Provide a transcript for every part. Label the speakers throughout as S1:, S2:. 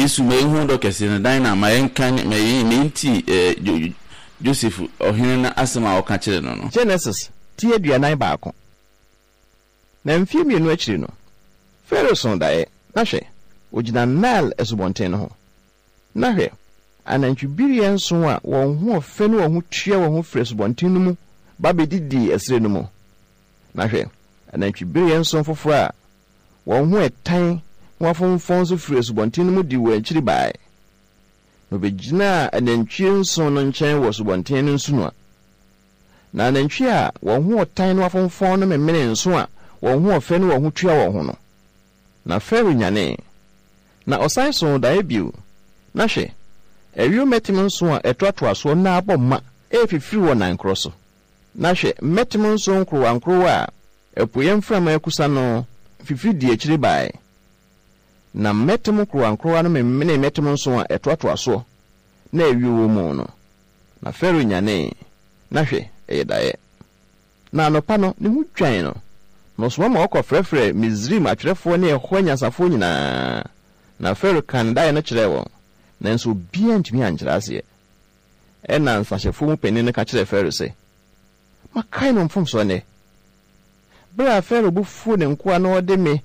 S1: Yesu, ma yɛnhu ɔdɔ kɛse no, dan na ma yɛnka ma yɛntie eh, Joseph, ɔhene no asɛm a ɔka kyerɛ no no.
S2: Genesis ti 41. Na mfeɛ mmienu akyiri no, Farao soo daeɛ, na hwɛ, ɔgyina Nile asubɔnten no ho. Na hwɛ, anantwibereɛ nson a wɔn ho ɔfɛ ne wɔn ho tua wɔn ho firi asubɔnten no mu ba bɛdidii ɛserɛ no mu. Na hwɛ, anantwibereɛ nson foforɔ a wɔn ho ɛtan na wɔafomfɔn nso firii asubɔnten no mu dii wɔn akyiri baeɛ, na wɔbɛgyinaa anantwie nson no nkyɛn wɔ asubɔnten no nsunoa. Na anantwie a wɔn ho ɔtan na wɔafomfɔn no memenee nsõ a wɔn ho ɔfɛ ne wɔn ho tua wɔn ho no. Na Farao nyanee, na ɔsan soo daeɛ bio, na hwɛ, ayuo mmɛtem nson a ɛtoatoa soɔ na abɔ ma refifiri wɔ nan korɔ so. Na hwɛ, mmɛtem nson nkorowankorowa a apueeɛ mframa akusa no fifiri dii akyire baeɛ. Na mmɛtem nkorowankorowa no memenee mmɛtem nson a ɛtoatoa soɔ na ayuo wɔ mu no. Na Farao nyanee, na hwɛ, ɛyɛ daeɛ. Na anɔpa no, ne ho dwan no, na ɔsoma ma wɔkɔfrɛfrɛɛ Misraim atwerɛfoɔ ne ɛhɔ anyansafoɔ nyinaa. Na Farao kaa ne daeɛ no kyerɛɛ wɔn, nanso obiara antumi ankyerɛ aseɛ. Ɛnna nsahyɛfoɔ mu panin no ka kyerɛɛ Farao sɛ, Makae mo mfomsoɔ nnɛ. Berɛ a Farao bo fuu ne nkoa na ɔde me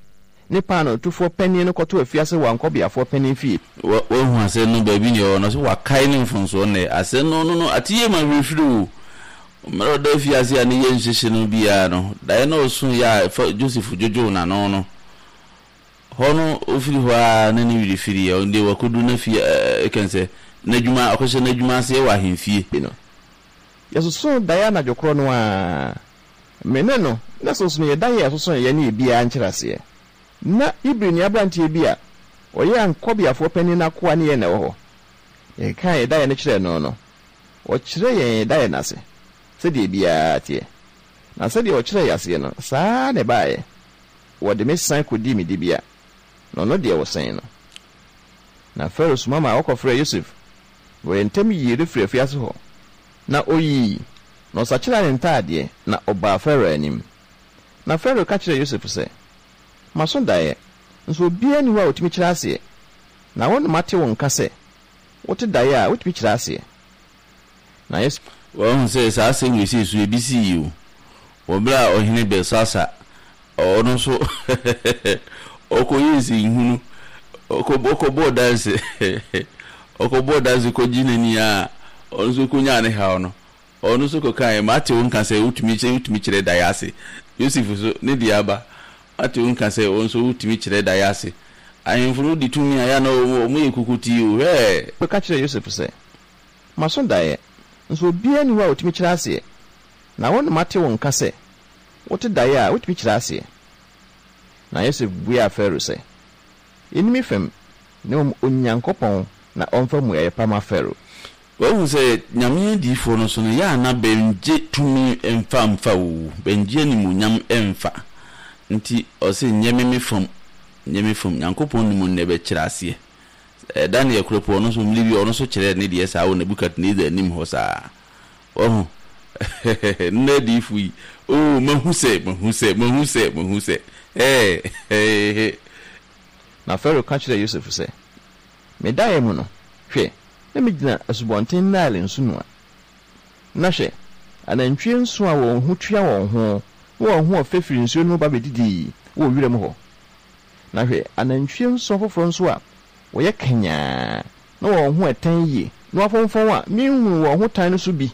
S2: ne paanootofoɔ panin no kɔtoo afiase wɔ ankɔbeafoɔ panin fie.
S1: Wahu asɛm no baabi nea ɔwɔ no, ɔse wakae ne mfomsoɔ nnɛ. Asɛm no, no, no, ate yie ma werɛ o. Mmerɛ ɔda afiase a ne yam hyehye no biara no, daeɛ na ɔsoeɛ a fa Joseph dwodwoo n'ano no, hɔ no ɔfiri hɔ ara na ne werɛ firiiɛ. Ɔno deɛ wakɔduru n'afie, ɛka sɛ n'adwuma, ɔkɔhyɛ n'adwuma aseɛ wɔ ahemfie.
S2: No. Yɛsosoo daeɛ anadwo korɔ no ara. Me ne no na sonsono yɛn daeɛ a yɛsosoeɛ ne ebiara nkyerɛaseɛ. Ná Hebrini aberanteɛ bi a ɔyɛ ankɔbeafoɔ panin no akoa ne yɛn na ɛwɔ hɔ. Yɛkekaa yɛn daeɛ no kyerɛɛ no no, ɔkyerɛɛ yɛn yɛn daeɛ no ase sɛdeɛ ebiara teɛ. Na sɛdeɛ ɔkyerɛɛ yɛn aseɛ no, saa ara na ɛbaeɛ. Wɔde me san kɔdii me dibea, na ɔno deɛ wɔsɛn no. Na Farao soma maa wɔkɔfrɛɛ Yosef, na wɔyɛɛ ntɛm yii no firii afiase hɔ. Na ɔyii, na ɔsakyeraa ne ntaadeɛ, na ɔbaa Farao anim. Na Farao ka kyerɛɛ Yosef sɛ, Maso daeɛ, nso obiara nni hɔ a ɔtumi kyerɛ aseɛ. Na wo na mate wo nka sɛ, wote daeɛ a, wotumi kyerɛ aseɛ. Na Yosef.
S1: Wahu sɛ saa asɛm wei sei so ebi sii o, wɔ berɛ a ɔhene Belsasar, ɔno nso ɔkɔyɛɛ nsɛnhunu, ɔkɔbɔɔ danse, ɔkɔbɔɔ danse kɔgye n'ani a, ɔno nso kɔnyaa ne haw no. Ɔno nso kɔkaeɛ, Mate wo nka sɛ wotumi wotumi kyerɛ daeɛ ase. Yosef nso, ne deɛ aba, Mate wo nka sɛ wo nso wotumi kyerɛ daeɛ ase. Ahemfo no di tumi a, ɛyɛ a na wɔyɛ kukutii o, hwɛ!
S2: Ka kyerɛɛ Yosef sɛ, Maso daeɛ, nso obiara nni hɔ a ɔtumi kyerɛ aseɛ. Na wo na mate wo nka sɛ, wote daeɛ a, wotumi kyerɛ aseɛ. Na Yosef buaa Farao sɛ, Ɛnni me fam, na mmom Onyankopɔn na ɔmfa mmuaeɛ pa mma Farao.
S1: Wahu sɛ Nyame adiyifoɔ no so no, yɛ a na bɛngye tumi mfa mfa o, bɛngye animuonyam mfa. Nti ɔse, nyɛ me me fam, nyɛ me fam. Nyankopɔn nim nnɛ bɛkyerɛ aseɛ. Daniel koro po, ɔno nso mmere bi ɔno nso kyerɛɛ ne deɛ saa wɔ Nebukadnesar anim hɔ saa. Wahu? Nnɛ adiyifo yi, oh, mahu sɛ, mahu sɛ, mahu sɛ, mahu sɛ, ɛɛ, hehe.
S2: Na Farao ka kyerɛɛ Yosef sɛ, Me daeɛ mu no, hwɛ, na megyina Asubɔnten Nile nsunoa. Na hwɛ, anantwie nson a wɔn ho tua wɔn ho na wɔn ho ɔfɛ firi nsuo no mu ba bɛdidii wɔ wiram hɔ. Na hwɛ, anantwie nson foforɔ nso a wɔyɛ kanyaa na wɔn ho ɛtan yie na wɔafomfɔn a menhunuu wɔn ho tan no so bi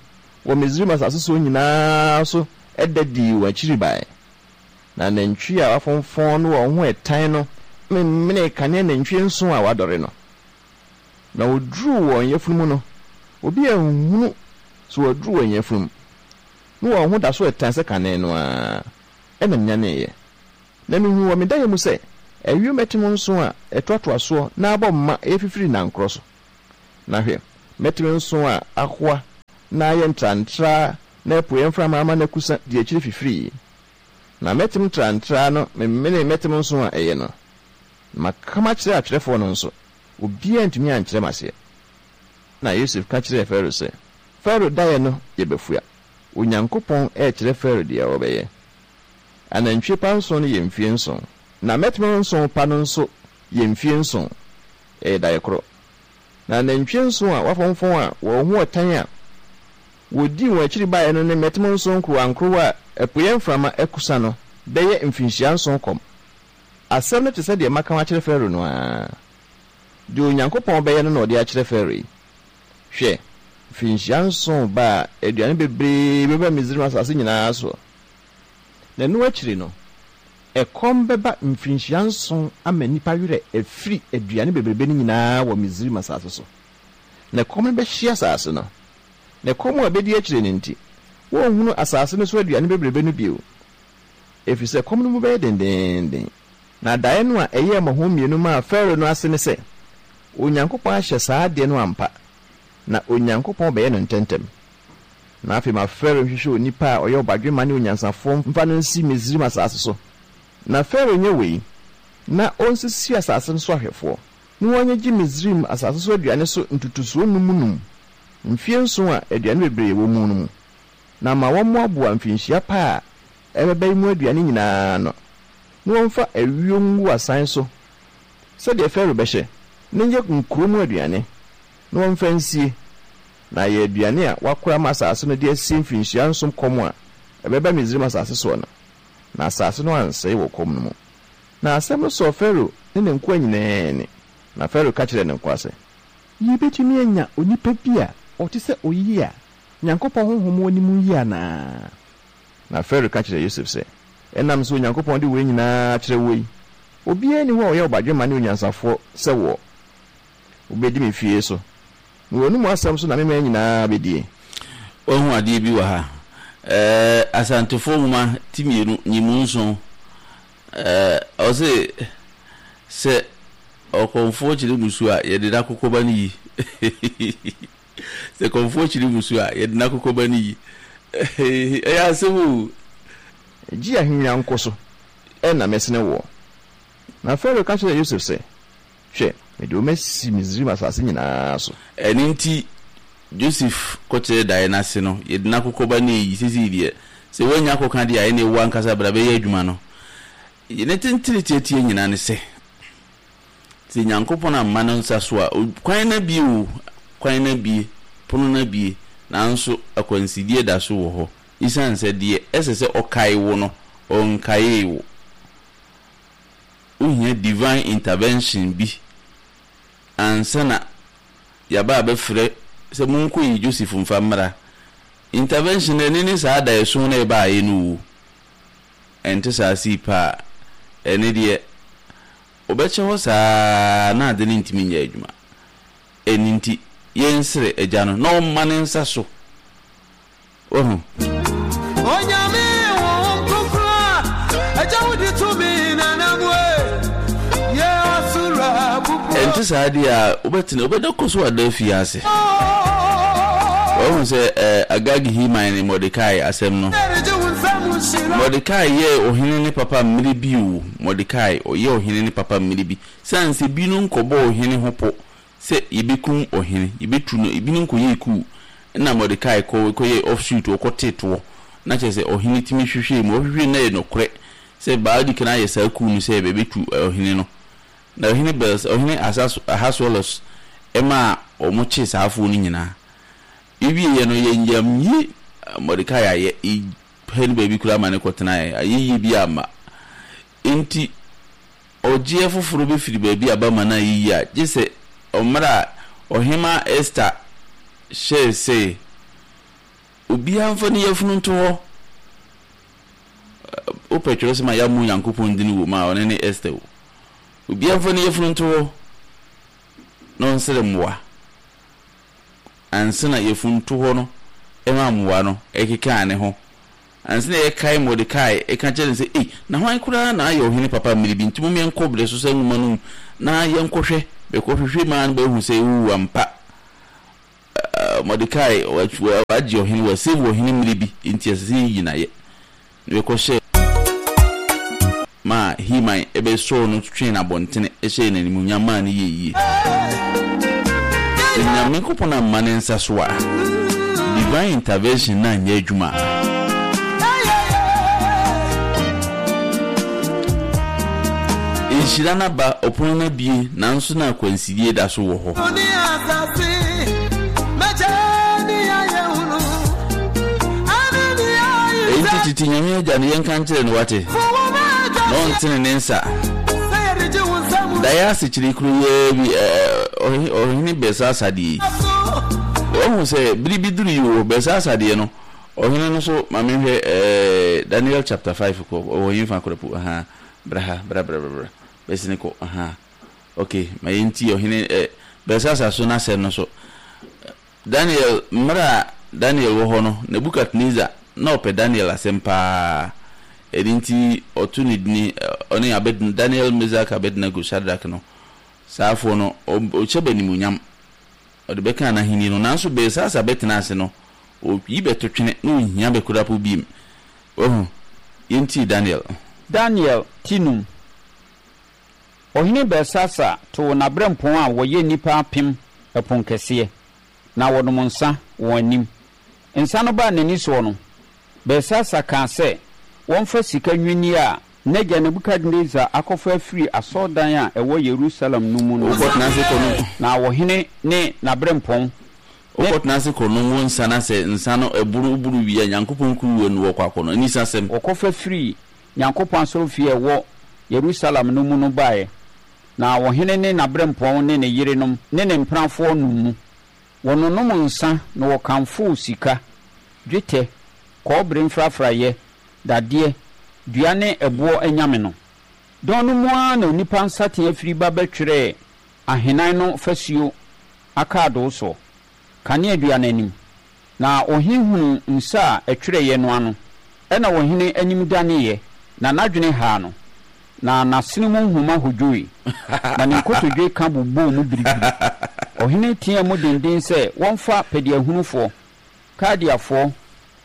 S2: wɔ Misraim asase soɔ nyina ara so da dii wɔn akyiri baeɛ. Na anantwie a wɔafomfɔn na wɔn ho ɛtan no memenee kane anantwie nson a wɔadɔre no. Na wɔduruu wɔn yafunu mu no, obi anhunu sɛ wɔaduru wɔn yafunu mu, na wɔn ho da so ɛtan sɛ kane no ara. Ɛnna menyaneeɛ. Na mihuu wɔ me daeɛ mu sɛ ayuo mmɛtem nson a ɛtoatoa soɔ na abɔ mma refifiri nankorɔ so. Na hwɛ, mmɛtem nson a ahoa na ayɛ ntrantraa na apueeɛ mframa ama no akusa di akyire fifirii. Na mmɛtem ntrantraa no memenee mmɛtem nson a ɛyɛ no. Na maka makyerɛ atwerɛfoɔ no nso, obiara antumi ankyerɛ me aseɛ. Na Yosef ka kyerɛɛ Farao sɛ, Farao daeɛ no yɛ bafua. Onyankopɔn rekyerɛ Farao deɛ ɔbɛyɛ. Anantwie pa nson no yɛ mfie nson. Na mmɛtem nson pa no nso yɛ mfie nson. Ɛyɛ daeɛ korɔ. Na anantwie nson a wɔafomfɔn a wɔn ho ɔtan a wɔdii wɔn akyiri baeɛ no ne mmɛtem nson nkorowankorowa a apueeɛ mframa akusa no bɛyɛ mfirinhyia nson kɔm. Asɛm no te sɛ deɛ maka akyerɛ Farao no ara. Deɛ Onyankopɔn bɛyɛ no na ɔde akyerɛ Farao yi. Hwɛ, mfirinhyia nson reba a aduane bebree bɛba Misraim asase nyinaa soɔ. Na ɛno akyiri no, ɛkɔm bɛba mfirinhyia nson ama nnipa werɛ afiri aduane bebrebe no nyinaa wɔ Misraim asase so. Na ɛkɔm no bɛhye asase no. Na ɛkɔm a ɛbɛdi akyire no nti, wɔrenhunu asase no so aduane bebrebe no bio, ɛfiri sɛ ɛkɔm no mu bɛyɛ dendeenden. Na daeɛ no a ɛyɛɛ mmɔho mmienu maa Farao no ase ne sɛ, Onyankopɔn ahyɛ saa adeɛ no ampa, na Onyankopɔn bɛyɛ no ntɛmntɛm. Na afei ma Farao nhwehwɛ onipa a ɔyɛ ɔbadwemma ne onyansafoɔ mfa no nsi Misraim asase so. Na Farao nyɛ wei, na ɔnsisi asase no so ahwɛfoɔ, na wɔnnyegye Misraim asase so aduane so ntotosoɔ nnum nnum, mfeɛ nson a aduane bebree wɔ mu no mu, na ma wɔmmoaboa mfirinhyia pa a ɛbɛba yi mu aduane nyinaa ano, na wɔmfa ayuo ngu asan so sɛdeɛ Farao bɛhyɛ, na nyɛ nkuro mu aduane, na wɔmfa nsie, na ayɛ aduane a wɔakora ama asase no de asie mfirinhyia nson kɔm a ɛbɛba Misraim asase soɔ no, na asase no ansɛe wɔ kɔm no mu. Na asɛm no sɔɔ Farao ne ne nkoa nyinaa ani, na Farao ka kyerɛɛ ne nkoa sɛ. Yebetumi anya onipa bi a ɔte sɛ oyi a Nyankopɔn honhom wɔ ne mu yi anaa? Na Farao ka kyerɛɛ Yosef sɛ, Ɛnam sɛ Onyankopɔn de wei nyinaa akyerɛ woɔ yi, obiara nni hɔ a ɔyɛ ɔbadwemma ne onyansafoɔ sɛ woɔ. Wobɛdi me fie so, na w'anomu asɛm so na me man nyinaa bɛdie.
S1: Woahu adeɛ bi wɔ ha? Ɛɛ, Asantefoɔ nwoma ti mmienu, nyimu nson. Ɛɛ, ɔse, sɛ ɔkɔmfoɔ kyerɛ musuo a, yɛde n'akokɔba no yi. Sɛ kɔmfoɔ kyerɛ musuo a, yɛde n'akokɔba no yi. Ɛyɛ asɛm o.
S2: Gye ahennwa nko so na mɛsene woɔ. Na Farao ka kyerɛɛ Yosef sɛ, Hwɛ, mede wo masi Misraim asase nyinaa so.
S1: Ɛno nti, Joseph kɔkyerɛɛ daeɛ no ase no, yɛde n'akokɔba no reyi. Seesei deɛ, sɛ woannya akɔka deɛ a, ɛnneɛ wo ankasa bra bɛyɛ adwuma no. Ne tentene tiatia nyinaa ne sɛ, sɛ Nyankopɔn amma ne nsa so a, kwan no abue o, kwan no abue, pono no abue, nanso akwansideɛ da so wɔ hɔ. Esiane sɛ deɛ ɛsɛ sɛ ɔkae wo no, ɔnkaee wo. Wohia divine intervention bi ansa na yɛaba abɛfrɛ sɛ monkɔyi Joseph mfa mmra. Intervention no, ɛno ne saa adaeɛso no a ɛbaeɛ no o. Ɛnte saa sei pɛ a, ɛno deɛ wɔbɛkyɛ hɔ saa ara na ade no ntumi nyɛ adwuma. Ɛno nti, yɛnsrɛ Agya no na ɔmma ne nsa so. Wahu?
S3: Onyame Honhom Kronkron a Agya wode tumi na nam e yɛ ɔsoro abubuo.
S1: Ɛnte saa deɛ a, wobɛtena, wobɛda kɔ so ada afiase. Wahu sɛ eh, Agag Heman ne Mordekai asɛm no. Mordekai yɛɛ ɔhene ne papa mmere bi o, Mordekai, ɔyɛɛ ɔhene ne papa mmere bi. Sane sɛ binom kɔbɔɔ ɔhene ho pɔ sɛ yebekum ɔhene, yebetu no, ebinom kɔyɛɛ kuw, ɛnna Mordekai kɔ kɔyɛɛ offshoot, ɔkɔtee toɔ, na kyerɛ sɛ ɔhene tumi hwehwɛɛ mu, ɔhwehwɛɛ mu na ɛyɛ nokorɛ sɛ Baal kan ayɛ saa kuw no sɛ bɛbɛtu ɔhene no. Na ɔhene Bels, ɔhene Asas, Ahasweros maa wɔkyee saa afoɔ no nyinaa. Ewieeɛ no, yɛnyamye Mordekai ayɛ, yɛpɛ no baabi koraa ma no kɔtenaeɛ, ayɛyie biara amma. Enti ɔgyeɛ foforɔ bɛfiri baabi aba ma no ayɛ yie a, gye sɛ mmerɛ a Ɔhemmaa Ester hyɛɛ sɛ obiara mfa ne yafunu nto hɔ. Wopɛ twerɛsɛm a yɛammɔ Onyankopɔn din wɔ mu a, ɔno ne Ester o. Obiara mfa ne yafunu nto hɔ na ɔnsrɛ mmoa. Ansa na yafunu to hɔ no ma mmoa no kekaa ne ho. Ansa na yɛkae Mordekai ka kyerɛɛ no sɛ, Ei, na hwan koraa na ayɛ ɔhene papa mmere bi? Nti mom yɛnkɔ Berɛsosɛ nwoma no mu na yɛnkɔhwɛ. Bɛkɔhwehwɛ mu ara no bɛahu sɛ, oo, ampa, Mordekai wagye ɔhene, wasave ɔhene mmere bi, enti ɛsɛ sɛ yɛyi no ayɛ. Na bɛkɔhyɛɛ maa Heman bɛsɔɔ no twee no abɔntene hyɛɛ no animuonyam maa no yɛɛ yie. Sɛ Nyankopɔn amma ne nsa so a, divine intervention no anyɛ adwuma a. Nhyira no aba, ɔpono no abue, nanso na akwansidie da so wɔ hɔ. Enti tete Nyame Agya no, yɛnka nkyerɛ no, wate? Na ɔntene ne nsa. Daeɛ asekyerɛ kuro yi ara bi, ɔhene Belsasar deɛ yi. Wahu sɛ bere bi duru yi o, Belsasar deɛ no, ɔhene no so, ma menhwɛ, ɛɛ, Daniel chapter 5 kɔ, ɔwɔ hefa koraa po, ahaa, bra ha, bra, bra, bra, bra, bɛsene kɔ, ahaa, ok, ma yɛntie ɔhene, ɛ, Belsasar so n'asɛm no so. Daniel, mmerɛ a Daniel wɔ hɔ no, Nebukadnesar, na ɔpɛ Daniel asɛm pa ara, ɛno nti ɔto ne dini, ɔne Abed, Daniel, Mesak, Abednego, Shadrach no, saa afoɔ no, ɔhyɛ bɛ animuonyam, ɔde bɛkaa n'ahennie no, nanso Belsasar bɛtenaa ase no, ɔyi bɛto twene, na ɔnhia bɛ koraa po biem. Wahu? Yɛntie Daniel.
S4: Daniel ti num. Ɔhene Belsasar too n'aberempɔn a wɔyɛ nnipa apem ɛponkɛseɛ, na wɔnom nsã wɔn anim. Nsã no baa n'ani soɔ no, Belsasar kaa sɛ wɔmfa sika nnwinneɛ a n'agya Nebukadnesar akɔfa afiri asɔredan a ɛwɔ Yerusalem no mu no
S1: Wokɔtena ase kɔnom.
S4: Na ɔhene ne n'aberempɔn ne.
S1: Wokɔtena ase kɔnom wo nsa na sɛ nsa no ɛboro woboro wie a, Nyankopɔn kuruwa nu wɔkɔ akɔnom. Anisasɛm.
S4: Wɔkɔfa firii Nyankopɔn asɔrefie a ɛwɔ Yerusalem no mu no baeɛ, na ɔhene ne n'aberempɔn ne ne yerenom ne ne mpenafoɔ nom mu. Wɔnonom nsã na wɔkamfoo sika, dwetɛ, kɔbere mfrafraeɛ, dadeɛ, dua ne ɛboɔ anyame no. Dɔn no mu ara na onipa nsateaa firi ba bɛtwerɛɛ ahenan no fasuo akaadoo soɔ, kaneadua no anim. Na ɔhene hunuu nsa a ɛtwerɛeɛ no ano. Ɛnna ɔhene anim daneeɛ, na n'adwene haa no, na n'asene mu nhoma hodwoe, na ne nkotodwe ka bobɔɔ mu biribiri. Ɔhene teaa mu denden sɛ wɔmfa pɛdeahunufoɔ, Kaldeafoɔ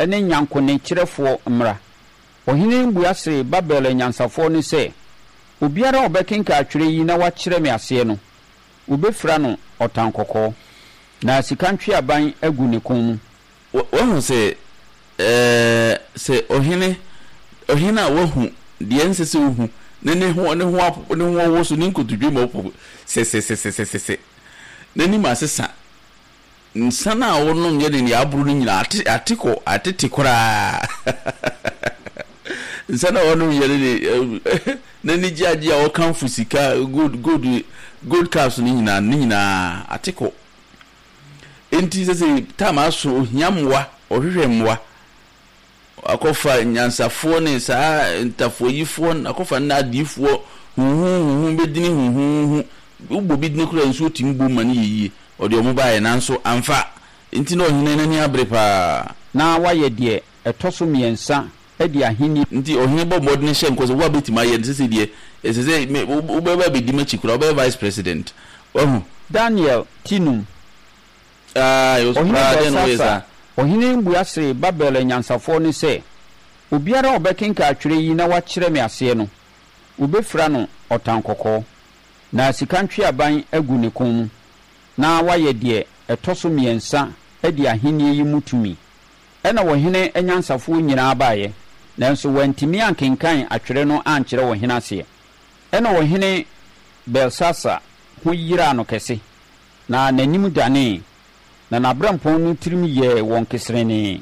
S4: ne nyankonekyerɛfoɔ mmra. Ɔhene no bua see Babel anyansafoɔ no sɛ, Obiara a ɔbɛkenkan atwerɛ yi na wakyerɛ me aseɛ no, Wobefira no ɔtankɔkɔɔ, na sika ntweaban agu ne kɔn mu.
S1: Woahu sɛ, ɛɛ, sɛ ɔhene, ɔhene a wahu deɛ ɛnsɛ sɛ ɔhu, na ne ho, ne ho apo, ne ho awoso, ne nkotodwe mu apo sɛsɛsɛsɛsɛ, n'anim asesa, Nsa no a wonom yɛ ne nea aboro no nyinaa ate ate kɔ atete koraa. Nsa no a wɔnom yɛ ne ne n'ani gye agye a wɔkamfo sika gold gold gold cups no nyinaa ne nyinaa ate kɔ. Enti sɛ sɛ tam aso ohia mmoa ɔhwehwɛ mmoa. Akɔfa nyansafoɔ ne saa ntafoayifoɔ, akɔfa nna adiyifoɔ huhuhuhu bɛdini huhuhuhu. Wobɔ bi dini koraa a, nsuo tumi bom ma no yɛ yie. Ɔde wɔn baeɛ, nanso amfa. Enti na ɔhene no ani abere pa ara.
S4: Na wayɛ deɛ ɛtɔ so mmiɛnsa adi ahennie.
S1: Enti ɔhene bɔɔ mmɔden hyɛɛ nkɔm sɛ, Wo a bɛtumi ayɛ no, seesei deɛ, ɛsɛ sɛ me, wobɛba abɛdi m'akyi koraa, wobɛyɛ vice president. Wahu?
S4: Daniel ti num.
S1: Ɔhene
S4: Belsasar, ɔhene no bua see Babel anyansafoɔ no sɛ, Obiara a ɔbɛkenkan atwerɛ yi na wakyerɛ me aseɛ no, wɔbɛfira no ɔtankɔkɔɔ, na sika ntweaban agu ne kɔn mu, na wayɛ deɛ ɛtɔ so mmiɛnsa adi ahennie yi mu tumi. Ɛnna ɔhene anyansafoɔ nyinaa baeɛ, nanso wɔantumi ankenkan atwerɛ no ankyerɛ ɔhene aseɛ. Ɛnna ɔhene Belsasar ho yeraa no kɛse. Na n'anim danee, na n'aberempɔn no tirim yɛɛ wɔn keserenee,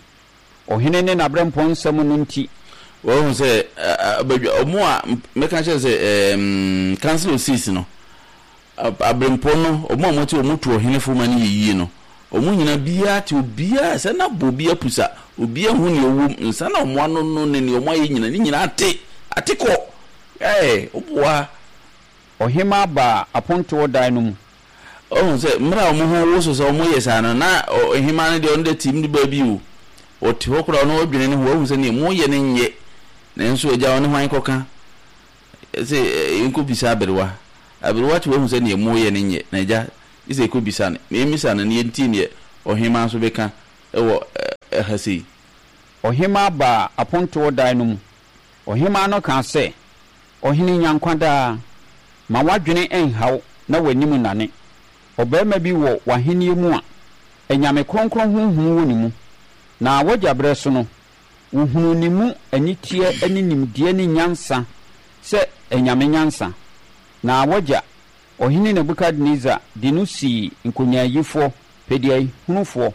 S4: ɔhene ne n'aberempɔn nsɛm no nti.
S1: Wahu sɛ badwa, wɔn a mɛka kyerɛ sɛ ɛɛm Council of Six no, aberempɔn no, wɔn a wɔte wɔn to ɔhene fo ma no yɛ yie no, wɔn nyinaa biara te obiara sɛ na bɔ obi apusa, obiara hu nea ɔwɔ mu, nsa na wɔn ano no ne nea wɔn ayɛ nyinaa, ne nyinaa ate, ate kɔ, ɛɛ woboa.
S4: Ɔhemmaa baa apontoɔ dan no mu.
S1: Woahu sɛ, mmerɛ a wɔn ho woso sɛ wɔyɛ saa no, na ɔhemmaa no deɛ ɔno deɛ tim de baabi o. Ɔte hɔ koraa ɔno ɔdwene ne ho, wahu sɛ neɛ moyɛ no nyɛ. Nanso agya ɔne hwan kɔka? Sɛ yɛnkɔbisa aberewa. Aberewa te wahu sɛ neɛ moyɛ no nyɛ, na agya, gye sɛ yɛkɔbisa no. Na yɛmmisa no na yɛntie neɛ ɔhemmaa nso bɛka wɔ ɛha sei.
S4: Ɔhemmaa baa apontoɔ dan no mu. Ɔhemmaa no kaa sɛ, Ɔhene nya nkwa daa. Ma w'adwene nha wo na w'anim nnane. Ɔbarima bi wɔ w'ahennie mu a anyame kronkron honhom wɔ ne mu, na w'agya berɛ so no, wɔhunuu ne mu aniteɛ ne nimdeɛ ne nyansa sɛ anyame nyansa. Na w'agya, Ɔhene Nebukadnesar de no sii nkonyaayifoɔ, peduahunufoɔ,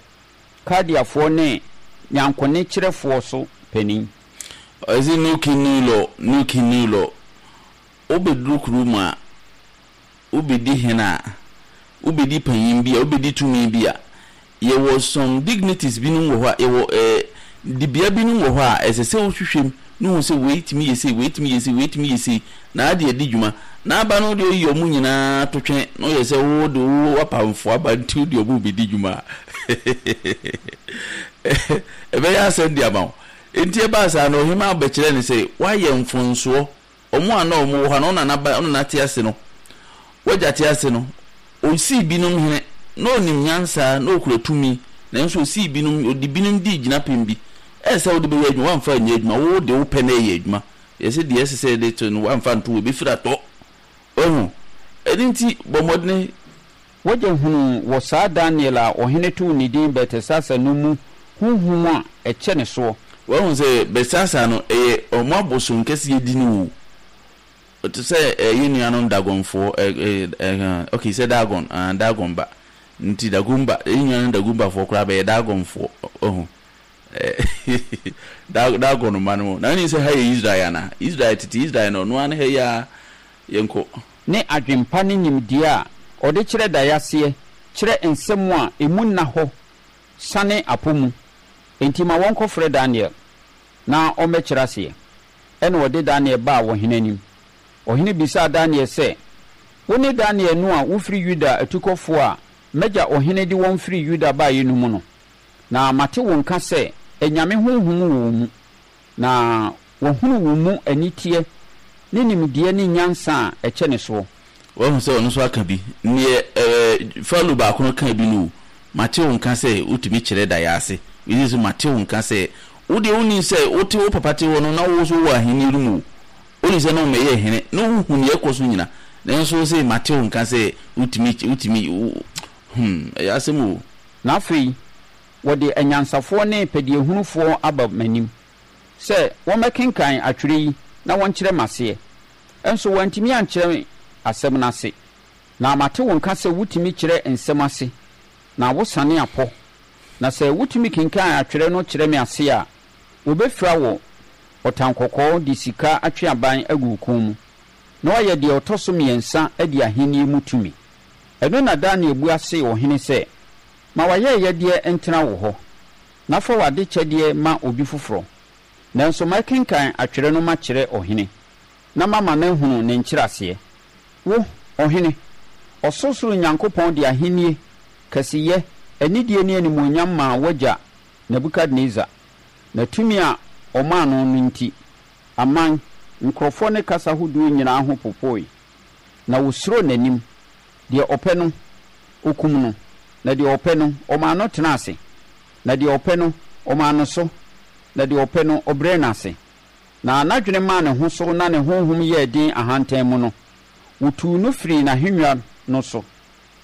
S4: Kaldeafoɔ ne nyankonekyerɛfoɔ so panin.
S1: Ɔse new king new law, new king new law. Wobɛduru kurom a, wobɛdi hene a, wobɛdi panyin bi a, wobɛdi tumi bi a, yɛwɔ some dignities binom wɔ hɔ a, yɛwɔ eh, dibea binom wɔ hɔ a, ɛsɛ sɛ wohwehwɛ mu na wohu sɛ wei tumi yɛ sei, wei tumi yɛ sei, wei tumi yɛ sei, na ade adi dwuma. Na aba no deɛ woyi wɔn nyinaa to twɛn na woyɛ sɛ wo de wo w'apamfo aba nti wode wɔn rebɛdi dwuma a, ɛbɛyɛ asɛm de ama wo. Enti ɛbaa saa no, ɔhemmaa bɛkyerɛɛ no sɛ, Woayɛ mfomsoɔ. Wɔn a na wɔwɔ hɔ no, wo nana ba, wo nana te ase no, w'agya te ase no, ɔsii binom hene. Na ɔnim nyansa, na ɔkura tumi, nanso ɔsii binom, ɔde binom dii gyinapɛn bi. Ɛyɛ sɛ wode bɛyɛ adwuma, woamfa anyɛ adwuma, wo de wo pɛ na ɛyɛ adwuma. Yɛse deɛ ɛsɛ sɛ yɛde to no, woamfa anto hɔ, ɛbɛfiri atɔ. Wahu? Ɛno nti, bɔ mmɔdene.
S4: W'agya hunuu wɔ saa Daniel a ɔhene too ne din Beltesasar no mu honhom a ɛkyɛ ne soɔ.
S1: Wahu sɛ Belsasar no, ɛyɛ wɔn abosonkɛseɛ din o. Te sɛ eh, yɛn nuanom Dagonfoɔ, eh, eh, eh, ok, sɛ Dagon, ah, Dagon ba. Nti Dagomba, yɛn nuanom Dagombafoɔ koraa bɛyɛ Dagonfoɔ, wahu. Eh, Dagon mma no. Na wonim sɛ ha yɛ Israel anaa? Israel, tete Israel no, ɔno ara ne ha yi ara. Yɛnkɔ.
S4: Ne adwempa ne nimdeɛ a ɔde kyerɛ daeɛ aseɛ kyerɛ nsɛm a emu nna hɔ sane apɔ mu. Enti ma wɔnkɔfrɛ Daniel na ɔmmɛkyerɛ aseɛ. Ɛnna wɔde Daniel baa ɔhene anim. Ɔhene bisaa Daniel sɛ, Wone Daniel no a wofiri Yuda atukɔfoɔ a m'agya ɔhene de wɔn firii Yuda baeɛ no mu no? Na mate wo nka sɛ anyame honhom wɔ wo mu, Na wɔahunu wo mu aniteɛ ne nimdeɛ ne nyansa a ɛkyɛne soɔ.
S1: Woahu sɛ ɔno nso aka bi? Neɛ ɛɛ Farao baako no kaa bi no o, Mate wo nka sɛ wotumi kyerɛ daeɛ ase. Wei nso mate wo nka sɛ, wo deɛ wonnim sɛ wote wo papa te hɔ no na wo nso wowɔ ahennie no mu o. Wonim sɛ na wommɛyɛɛ hene na wohu deɛ ɛkɔ so nyina. Nanso wo se mate wo nka sɛ wotumi wotumi wo hmm ɛyɛ asɛm o.
S4: Na afei wɔde anyansafoɔ ne pɛdeɛhunufoɔ aba m'anim sɛ wɔmmɛkenkan atwerɛ yi na wɔnkyerɛ me aseɛ. Nso wɔantumi ankyerɛ me asɛm no ase. Na mate wo nka sɛ wotumi kyerɛ nsɛm ase, na wosane apɔ. Na sɛ wotumi kenkan atwerɛ no kyerɛ me ase a, wɔbɛfira wo ɔtankɔkɔɔ de sika atweaban agu wo kɔn mu, na woayɛ deɛ ɔtɔ so mmiɛnsa adi ahennie mu tumi. Ɛno na Daniel bua see ɔhene sɛ, Ma w'ayɛyɛdeɛ ntena wo hɔ, na fa w'adekyɛdeɛ ma obi foforɔ. Nanso mɛkenkan atwerɛ no makyerɛ ɔhene, na mama no ahunu ne nkyerɛaseɛ. Wo, ɔhene, ɔsorosoro Nyankopɔn de ahennie, kɛseyɛ, anidie ne animuonyam maa w'agya Nebukadnesar, na tumi a ɔmaa no no nti, aman, nkurɔfoɔ ne kasa hodoɔ nyinaa ho popoe, na wɔsuroo n'anim. Deɛ ɔpɛ no, ɔkum no, na deɛ ɔpɛ no, ɔmaa no tena ase, na deɛ ɔpɛ no, ɔmaa no so, na deɛ ɔpɛ no, ɔbrɛɛ no ase. Na n'adwene maa ne ho so na ne honhom yɛɛ den ahantan mu no, wɔtuu no firii n'ahennwa no so,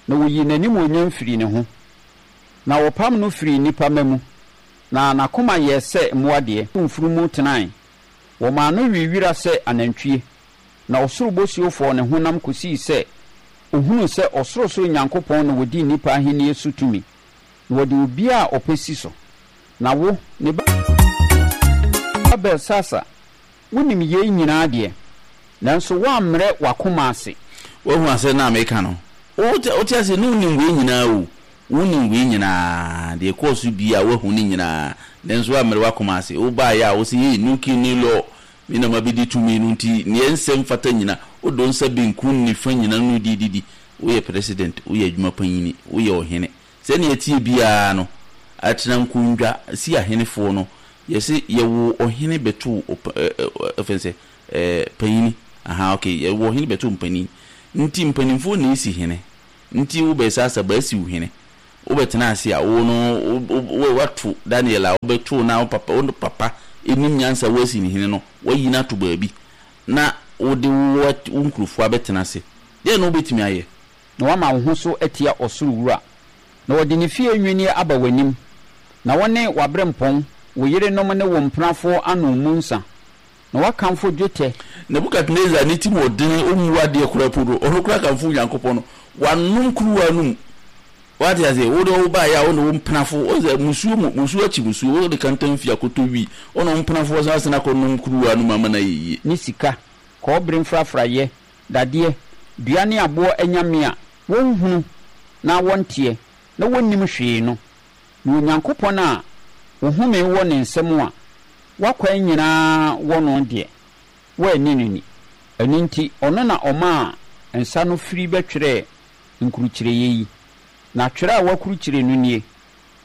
S4: na wɔyii n'animuonyam firii ne ho, na wɔpam no firii nnipa mma mu, na n'akoma yɛɛ sɛ mmoa deɛ. Mfunumu tenae, wɔmaa no wee wira sɛ anantwie. Na ɔsoro bosuo fɔɔ ne honam kɔsii sɛ ɔhunuu sɛ Ɔsorosoro Nyankopɔn na ɔdi nnipa ahennie so tumi, na ɔde obiara a ɔpɛ si so. Na wo, ne ba Belsasar, wonim yei nyinaa deɛ, nanso woammrɛ w'akoma ase.
S1: Woahu asɛm no a mereka no? Wote, wote aseɛ? Na wonim wei nyinaa o. Wonim wei nyinaa, deɛ ɛkɔɔ so biara, woahu ne nyinaa, nanso woammrɛ w'akoma ase. Wobaeɛ a, wose, Ei, new king, new law. Me na mabedi tumi no nti neɛ nsɛ mfata nyina wodɔ nsa benkum nifa nyina no di didi woyɛ president woyɛ adwuma panyini woyɛ ɔhene sɛnea ɛteɛ biara no atena nkondwa si ahenefoɔ no yɛse yɛwoo ɔhene bɛtoo ɔpa ɛ ɛ ɛfɛn sɛ ɛ panyini ahaa ok yɛwoo ɔhene bɛtoo mpanin nti mpanimfoɔ na esi hene nti wobɛsa asaba asi wo hene Wobɛtena ase a, wo no, wo, woato Daniel a wobɛtoo no a wo papa, wo papa nim nyansa woasi no hene no, woayi no ato baabi, na wode wo, wo nkurɔfoɔ abɛtena ase. Deɛn na wobɛtumi ayɛ?
S4: Na woama wo ho so atia ɔsoro Wura, na ɔde ne fie nnwinneɛ aba w'anim, na wo ne w'aberempɔn, wo yerenom ne wo mpenafoɔ anom mu nsã. Na woakamfo dwetɛ.
S1: Nebukadnesar ne tirim ɔdene, ɔmmu adeɛ koraa po no, ɔno koraa kamfo Onyankopɔn no, wanom kuruwa no mu. Wate aseɛ? Wo deɛ wobaeɛ a, wo ne wo mpenafo, wo sɛ musuo mu, musuo akyi musuo, wode kantan fi akɔtɔ wi, wo ne wo mpenafoɔ san asene akɔnom kuruwa no mu ama no ayɛ yie.
S4: Ne sika, kɔbere mfrafraeɛ, dadeɛ, dua ne aboɔ anyame a wɔnhunu na wɔnteɛ na wɔnnim hwee no, na Onyankopɔn a wo home wɔ ne nsam a w'akwan nyinaa wɔ no deɛ, woanni no ni. Ɛno nti, ɔno na ɔmaa nsa no firi bɛtwerɛɛ nkurukyireeɛ yi. Na twerɛ a wɔakurukyire no nie,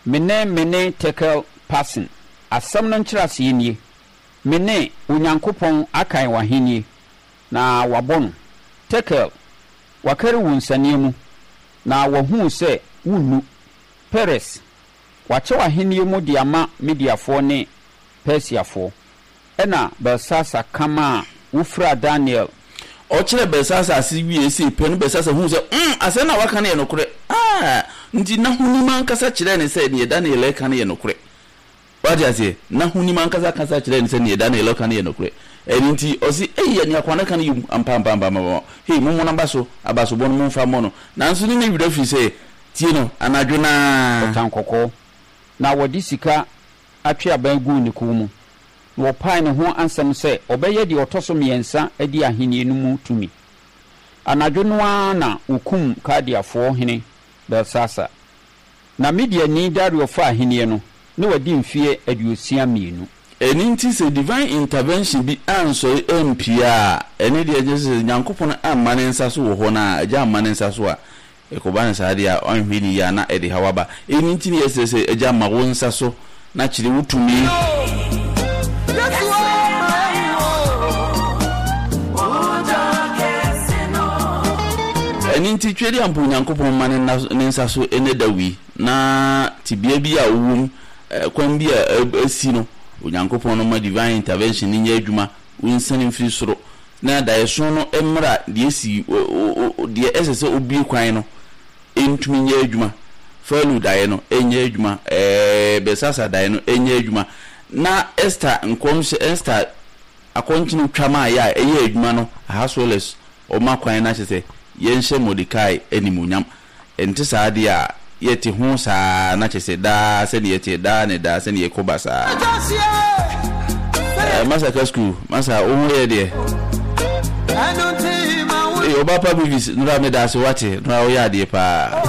S4: Mene, Mene, Tekel, Parsin. Asɛm no nkyerɛaseɛ nie, Mene, Onyankopɔn akan w'ahennie, na wabɔ no. Tekel, wakari wo nsania mu, na wahu wo sɛ wonnu. Peres, wakyɛ w'ahennie mu de ama Mediafoɔ ne Persiafoɔ. Ɛnna Belsasar ka maa wofiraa Daniel.
S1: Ɔkyerɛɛ Belsasar ase wiei sei pɛ no, Belsasar huu sɛ, mm, asɛm no a waka no yɛ nokorɛ. Ah! Nti n'ahonim ankasa kyerɛɛ no sɛ deɛ Daniel reka no yɛ nokorɛ. Wate aseɛ? N'ahonim ankasa kasa kyerɛɛ no sɛ deɛ Daniel reka no yɛ nokorɛ. Ɛno nti, ɔse, Ei, nea akoa no reka no yɛ mu ampa, ampa, ampa, ampa, ampa. Hei, mommɔ n'aba so, abasobɔ no momfa mmɔ no. Nanso ne na werɛ firi sɛ, tie no, anadwo no ara.
S4: Ɔtankɔkɔɔ, na wɔde sika atweaban guu ne kɔn mu, na wɔpaee ne ho asɛm sɛ ɔbɛyɛ deɛ ɔtɔ so mmiɛnsa adi ahennie no mu tumi. Anadwo no ara na wɔkumm Kaldeafoɔ hene Belsasar. Na Mediani Dario faa ahennie no, na wadi mfeɛ 62.
S1: Ɛno nti sɛ divine intervention bi ansɔre ampue a, ɛno deɛ kyerɛ sɛ Nyankopɔn amma ne nsa so wɔ hɔ no a, Agya amma ne nsa so a, ɛkɔba no saa deɛ a, wanhwɛ no yie a na ɛde haw aba. Ɛno nti na yɛsrɛ sɛ, Agya ma wo nsa so na kyerɛ wo tumi. Ɛno nti Twedeampo Onyankopɔn mma ne nsa so ɛnɛ da wei, na tebea bi a wowɔ mu, kwan bi a asi no, Onyankopɔn no ma divine intervention no nyɛ adwuma, wonsiane mfiri soro, na daeɛso no mmra deɛ asi, deɛ ɛsɛ sɛ obue kwan no ntumi nyɛ adwuma, Farao daeɛ no nyɛ adwuma, Belsasar daeɛ no nyɛ adwuma, na Ester nkɔmhyɛ, Ester akɔnkyene twa maeɛ a ɛyɛɛ adwuma no, Ahasuerus ɔma kwan na kyerɛ sɛ yɛnhyɛ Mordekai animuonyam. Ɛnte saa deɛ a, yɛte ho saa ara na kyerɛ sɛ daa sɛdeɛ yɛteɛ, daa ne daa sɛdeɛ yɛkɔ ba saa ara. Eh, Masa ka school, Masa wo ho yɛ deɛ. Ee, ɔba pa Beavis, nora meda ase wate, nora woyɛ adeɛ paa.